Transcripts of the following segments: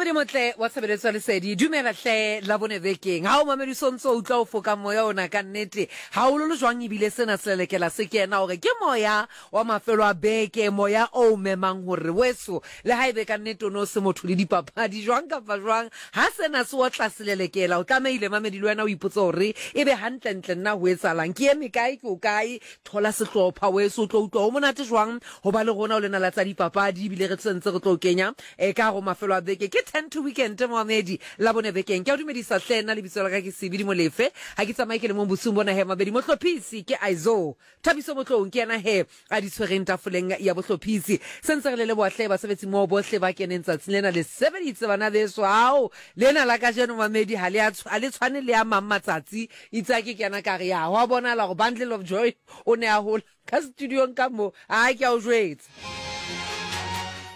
Mamedi motle wa tshebeletso ya lesedi, dumela hle la bone bekeng. Ha o mamedi so ntso utlwa o foka moya ona ka nnete. Ha o lolo jwang ebile sena se lelekela se kena hore ke moya wa mafelo a beke, moya o memang hore weso le ha ebe ka nnete o no se motho le dipapadi jwang kapa jwang. Ha sena se otla selelekela o tlamehile mamedi le wena o ipotse hore ebe hantlentle nna ho etsahalang, ke eme kae, ke o kae. Thola sehlopha weso o tlo utlwa ho monate jwang ho ba le rona o lena la tsa dipapadi ebile re sentse re tlo kenya e ka go mafelo a beke ke 10 to weekend moamedi la bone bekeng ke a o dumedisa hle nna lebitso la ka ke Sebidi Molefe ha ke tsamaye ke le mong bosiung bona he mabedi mohlophisi ke Aizo Thabiso Motloung ke yena he a di tshwereng tafoleng ya bohlophisi sentse re le leboha hle basebetsi moo bohle ba keneng tsatsing lena le sebeditse bana beso ao lena la kajeno mamedi ha le a le tshwane le a mang matsatsi itse a ke kena ka re ya ho a bonala gore bundle of joy o ne a hola ka studiong ka mo a ke a o jwetsa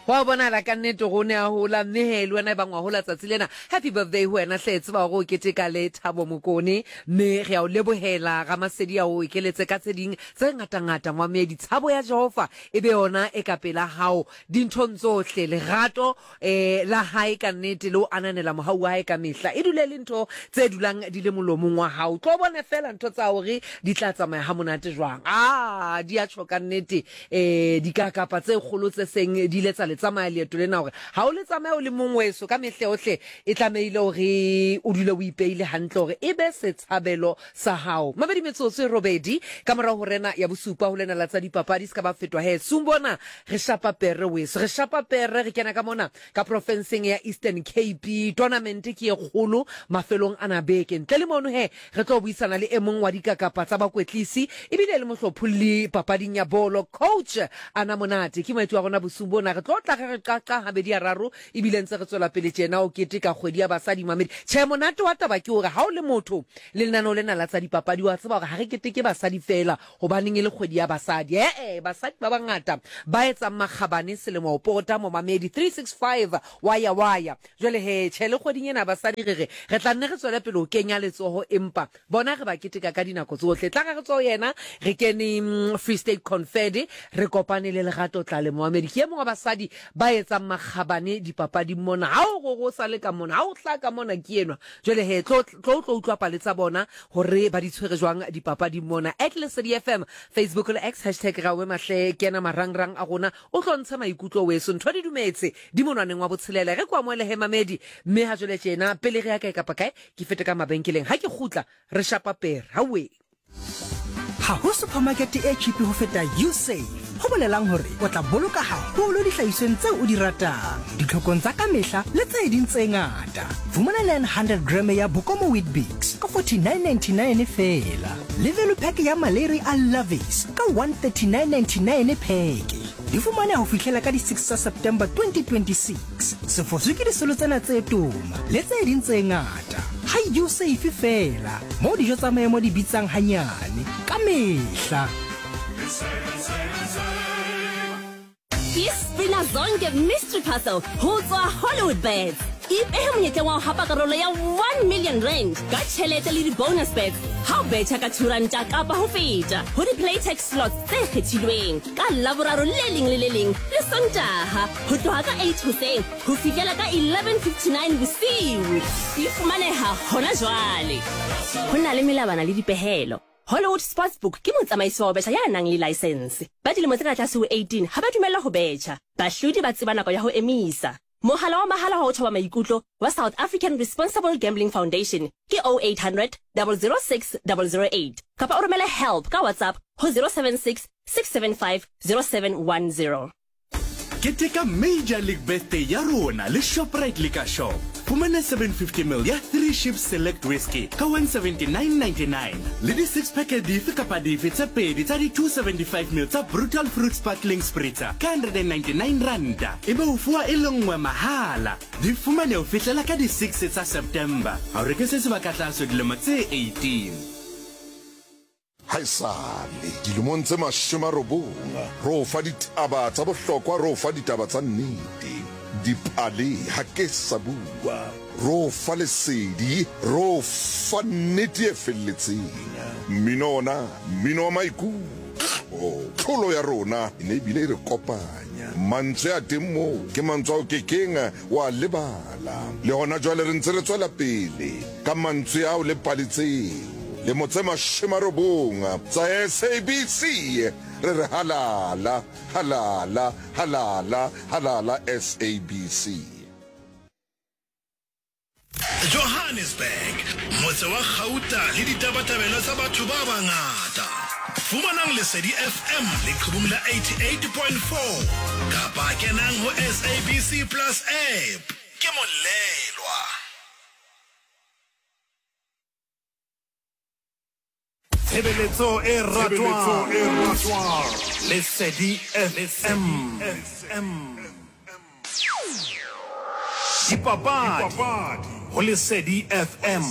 go a bonala ka nnete go ne a hola mme he le wena e bang wa hola tsatsi lena happy birthday ho wena hle tseba gore o keteka le Thabo Mokone mme re a o lebohela Ramasedi a o ekeletse ka tse ding tse ngatangata moamedi tshabo ya Jehova e be yona e ka pela hao dinthong tsohle lerato E, la hae ka nnete, le ho ananela mohau wa hae ka mehla, e dule e le ntho tse dulang di le molomong wa hao. Tlo bone feela ntho tsa hore di tla tsamaya ha monate jwang. A, di a tjho ka nnete, e, dikakapa tse kgolo tse seng di ile tsa le tsamaya leeto lena hore ha o le tsamaya o le mong weso, ka mehla yohle e tlamehile hore o dule o ipeile hantle hore e be setshabelo sa hao. Mabedi metsotso e robedi ka morao ho rena ya bosupa ho lena la tsa dipapadi se ka ba fetwa he sung bona re shapa pere weso re shapa pere re kena ka mona ka profenseng ya Eastern Cape tournament ke e kgolo mafelong ana beke ntle le mono he re tlo buisana le e mong wa dikakapa tsa bakwetlisi ebile le mohlopholli papading ya bolo coach Ana Monate ke moeti wa rona bosung bona re tlo tla re re qaqa habedi a raro ebile ntse re tswela pele tjena o keteka kgwedi ya basadi mamedi tjhe monate wa taba ke hore ha o le motho le lenaneo lena la tsa dipapadi wa tseba hore ha re keteke basadi feela hobaneng e le kgwedi ya basadi ee basadi ba bangata ba etsang makgabane selemo ho pota momamedi 365 wa ya wa ya jwale he tjhe le kgweding ena basadi re re re tla nne re tswele pele ho kenya letsoho empa Bona re ba keteka ka dinako tsohle. Tla re re tswe ho yena, re kene mm, Free State Confed, re kopane le Lerato Tlale Moamedi. Ke e mong wa basadi ba etsang makgabane dipapading mona. Ha o re o sa le ka mona, ha o hlaha ka mona ke enwa. Jwale he, tlo tlo tlo utlwa pale tsa bona hore ba di tshwere jwang dipapading mona. At Lesedi FM, Facebook le X, hashtag Raowe Mahle, kena marangrang a rona, o tlo ntshe maikutlo weso. Ntho di dumetse, di monwaneng wa botshelela. Re ko amohele he mamedi, mme ha jwale tjena, pele re ya kae kapa kae, Ke fete ka mabenkeleng, ha ke kgutla re shapa pere. Haowe! Ha ho supermarket e cheap ho feta Usave, ho bolelang hore o tla boloka haholo dihlahisweng tseo o di ratang, ditlhokong tsa ka mehla le tse ding tse ngata. Fumana 900 gram ya Bokomo Weet-Bix ka 49.99 feela, le value pack ya Maleri a Lovies ka 139.99 pheke. Di fumaneha ho fihlela ka di 6 tsa September 2026. Se foswe ke disolo tsena tse toma le tse ding tse ngata. Ha U-Safe feela, moo dijo tsa maemo di bitsang hanyane ka mehla. Ke Spina Zonke Mystery Parcel ho tswa Hollywood Bets. Ipehe monyetleng wa ho hapa karolo ya 1 million rand ka tjhelete le di-bonus bets ha o betjha ka 2 ranta kapa ho feta ho di-playtech slots tse kgethilweng ka Laboraro le leng le le leng le Sontaha ho tloha ka 8 hoseng ho fihlela ka 11:59 bosiu. E fumaneha hona jwale. Ho na le melawana le dipehelo. Hollywood Sportsbook ke motsamaisi wa ho betjha ya nang le laesense. Ba dilemo tse ka tlase ho 18 ha ba dumellwa ho betjha. Bahlodi ba tseba nako ya ho emisa. Mohala wa mahala wa ho thoba maikutlo wa South African Responsible Gambling Foundation ke 0800 006 008 kapa o romele help ka WhatsApp ho 076 675 0710. Keteka Major League Birthday ya rona le Shoprite Liquor Shop. Fumana 750ml ya Three Ships Select Whisky ka 179.99 le di six pack dife kapa dife tse pedi tsa di 275ml tsa Brutal Fruit Sparkling Spritzer ka 199 ranta ebe o fuwa e le nngwe mahala. Di fumane ho fihlela ka di 6 tsa September. Ha o reke se sebaka tlaso dilemo tse 18. Haesale dilemong tse 90 re o fa ditaba tsa bohlokwa, re o fa ditaba tsa nnete, dipale ha ke sa bua, re o fa lesedi, re o fa nnete e felletseng. Mmino ona, mmino wa maikutlo, tlholo ya rona e ne e bile e re kopanya. Mantswe a teng moo ke mantswe ao ke keng wa lebala. Le gona jwale re ntse re tswela pele ka mantswe ao le pale tseo. Lemo tse 90 tsa SABC re re halala, halala, halala, halala SABC. Johannesburg, motse wa gauta le ditabatabelo tsa batho ba bangata. Fumanang Lesedi FM leqhubung la 88.4 kapa kenang ho SABC Plus app. Ke molelwa. Tshebeletso e ratwang. Lesedi FM. Dipapadi ho Lesedi FM.